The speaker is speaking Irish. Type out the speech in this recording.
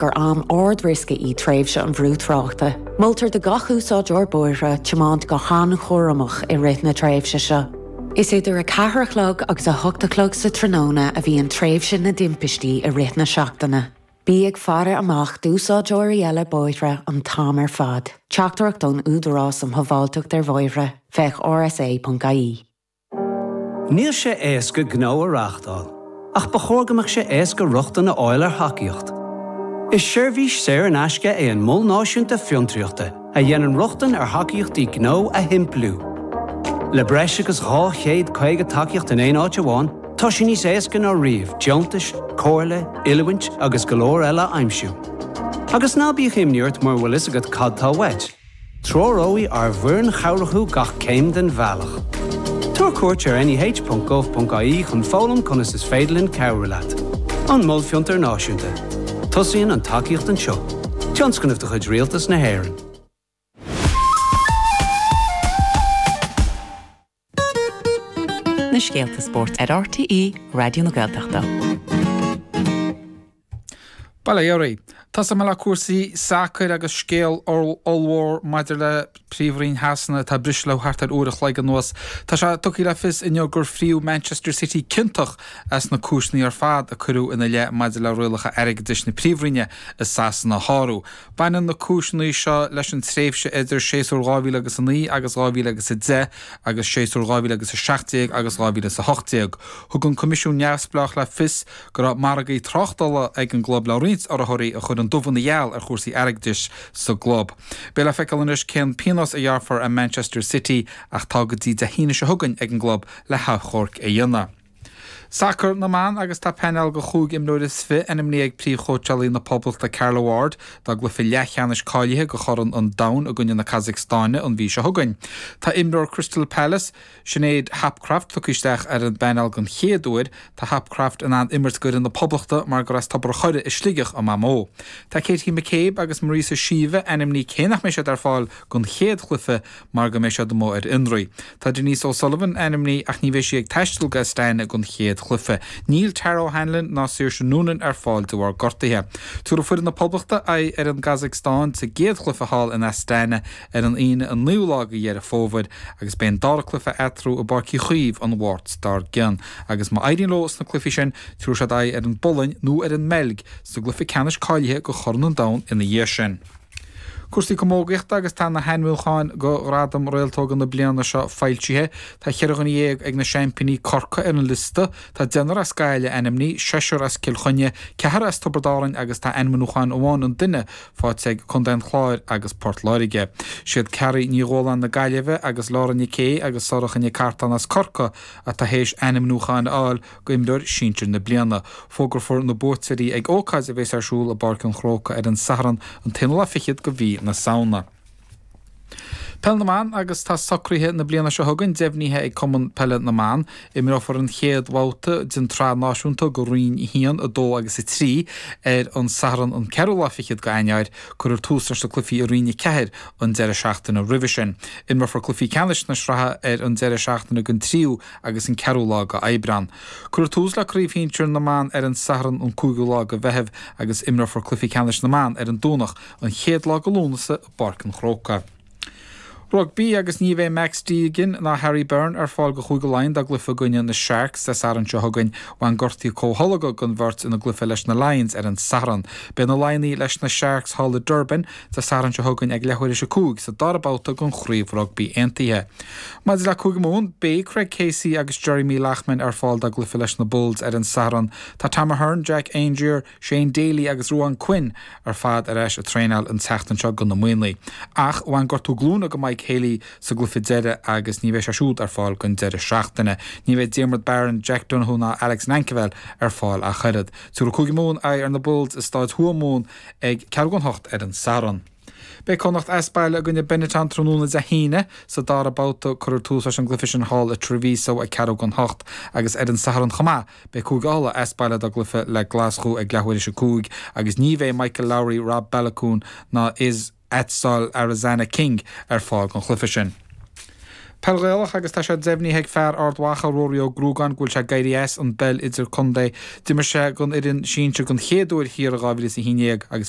Gur am ard-riosca í tréimhse an bhrú tráchta. Moltar do gach úsáideoir bóithre tiomáint go han-chúramach i rith na tréimhse seo. Is idir 4 a chlog agus 8 a chlog sa tráthnóna a bhíonn tréimhse na dtimpistí i rith na seachtaine. Bí ag faire amach d'úsáideoirí eile bóithre an t-am ar fad. Teachtaireacht ón Údarás um Shábháilteacht ar Bhóithre, féach rsa.ie. Níl sé éasca gnó a reáchtáil, ach ba chóir go mbeadh sé éasca rochtain a fháil ar thacaíocht. Is seirbhís saor in aisce é an Mol Náisiúnta Fiontraíochta a dhéanann rochtain ar thacaíochtaí gnó a shimpliú. Le breis agus 250 tacaíocht in aon áit amháin, tá sé níos éasca ná riamh deontais, comhairle, oiliúint agus go leor eile a aimsiú. Agus ná bíodh imní ort mura bhfuil fhios agat cad tá uait. Treoróidh ár bhfoireann chabhrach thú gach céim den bhealach. Tabhair cuairt ar neh.gov.ie chun foghlaim conas is féidir linn cabhrú leat. An Mol Fiontair Náisiúnta. Tosaíonn an tacaíocht anseo. Tionscnamh de chuid Rialtas na hÉireann. Na scéalta spóirt ar RTÉ Raidió na Gaeltachta. Bail ó Dhia oraibh. Tosóidh mé le cúrsaí sacair agus scéal ollmhór maidir le Príomhroinn Shasana atá ag briseadh le thart ar uair a chloig anuas. Tá sé tugtha le fios inniu gur fríodh Manchester City ciontach as na cúiseanna ar fad a cuireadh ina leith maidir le rialacha airgeadais na Príomhroinne i Sasana a shárú. Baineann na cúiseanna seo leis an tréimhse idir séasúr 2009 agus 2010 agus séasúr 2017 agus 2018. Thug an Coimisiún Neamhspleách le fios go raibh margaí tráchtála ag an gclub le roinnt urraitheoirí a chuir an dubh ina gheal ar chúrsaí airgeadais sa gclub. Beidh le feiceáil anois cén pionós a ghearrfar ar Manchester City ach tá go dtí Dé hAoine seo chugainn ag an gclub le hachomharc a dhéanamh. Sacar na mBan agus tá painéal de chúig imreoir is fi ainmnithe ag príomhchóitseálaí na Poblachta Carla Ward dá gcluiche leathcheannais cáilithe do Chorn an Domhain i gcoinne na Casacstáine an mhí seo chugainn. Tá imreoir Crystal Palace, Sinéad Hopcroft tugtha isteach ar an bpainéal den chéad uair. Tá Hopcroft in ann imirt d'fhoireann na Poblachta mar gur as Tobar an Choire i Sligeach a mamó. Tá Katie McCabe agus Marissa Sheva ainmnithe cé nach mbeidh siad ar fáil don chéad chluiche mar go mbeidh siad amuigh ar fhionraí. Tá Denise O'Sullivan ainmnithe ach ní bheidh sí ag taisteal go Astana don chéad chluiche. Níl Tara O'Hanlon ná Saoirse Noonan ar fáil de bharr gortuithe. Tabharfaidh foireann na Poblachta aghaidh ar an gCasacstáin sa gcéad chluiche thall in Astana ar an Aoine an 9ú lá de Dheireadh Fómhair agus beidh an dara cluiche eatarthu i bPáirc Uí Chaoimh an Mháirt dár gcionn. Agus má éiríonn leo sna cluichí sin, tabharfaidh siad aghaidh ar an bPolainn nó ar an mBeilg sa gcluiche ceannais cáilithe do Chorn an Domhain ina dhiaidh sin. Cúrsaí camógaíochta agus tá na hainmniúcháin do Ghradam Réaltóga na bliana seo foilsithe. Tá cheithre dhuine dhéag ag na seaimpíní Corcaigh ar an liosta. Tá deichniúr as Gaillimh ainmnithe, seisear as Cill Chainnigh, ceathrar as Tiobraid Árann agus tá ainmniúchán amháin an duine faighte ag Contae an Chláir agus Port Láirge. Siad Carrie Ní Dhualáin na Gaillimhe agus Laura Nic Aoidh agus Sorcha Nic Artáin as Corcaigh atá théis ainmniúcháin a fháil d'imreoir sinsir na bliana. Fógrófar na buaiteoirí ag ócáid a bheas ar siúl i bPáirc an Chrócaigh ar an Satharn an t-aonú lá fichead de mhí na Samhna. Peil na mBan agus tá socruithe na bliana seo chugainn deimhnithe ag Cumann Peile na mBan. Imreofar an chéad bhabhta den tSraith Náisiúnta do Roinn 1, 2 agus 3 ar an Satharn an ceathrú lá fichead de Eanáir. Cuirfear tús leis na cluichí i Roinn 4 an deireadh seachtaine roimhe sin. Imreofar cluichí ceannais na sraithe ar an deireadh seachtaine den tríú agus an ceathrú lá de Aibreán. Cuirfear tús le Craobh Shinsir na mBan ar an Satharn an cúigiú lá de Mheitheamh agus imreofar cluichí ceannais na mban ar an Domhnach an chéad lá de Lúnasa i bPáirc an Chrócaigh. Rugbaí agus ní bheidh Max Deegan ná Harry Byrne ar fáil do Chúige Laighean dá gcluiche i gcoinne na Sharks Dé Sathairn seo chugainn. Bhain gortaí comhtholgtha don bheirt ina gcluiche leis na Lions ar an Satharn. Beidh na Laighnigh leis na Sharks thall i Durban Dé Sathairn seo chugainn ag leathuair théis a 5 sa dara babhta den Chraobh Rugbaí Aontaithe. Maidir le Cúige Mumhan, beidh Craig Casey agus Jeremy Loughman ar fáil dá gcluiche leis na Bulls ar an Satharn. Tá Tom Ahern, Jack Aungier, Shane Daly agus Ruadhán Quinn ar fad ar ais ag traenáil an tseachtain seo do na Muimhnigh. Ach bhain gortú glúine do Mike Haley sa gcluiche deiridh agus ní bheidh sé siúd ar fáil don deireadh seachtaine. Ní bheidh Diarmuid Barron, Jack Donoghue ná Alex Nankivell ar fáil ach oiread. Tabharfaidh Cúige Mumhan aghaidh ar na Bulls i Stáid Thuamhumhan ag ceathrú don hocht ar an Satharn. Beidh Connacht as baile i gcoinne Benetton tráthnóna Dé hAoine. Sa dara babhta, cuirfear tús leis an gcluiche sin thall i Treviso ag ceathrú don hocht agus ar an Satharn chomh maith, beidh Cúige Uladh as baile dá gcluiche le Glaschú ag leathuair théis a 5 agus ní bheidh Michael Lowry, Rob Baloucoune ná Itzel Arozarena King ar fáil don chluiche sin. Peil Ghaelach agus tá sé deimhnithe ag fear Ard Mhacha, Ruairí Ó Gruagáin, go bhfuil sé ag éirí as an bpeil idir-contae. D'imir sé don fhoireann sinsir den chéad uair thiar i 2011 agus bhí.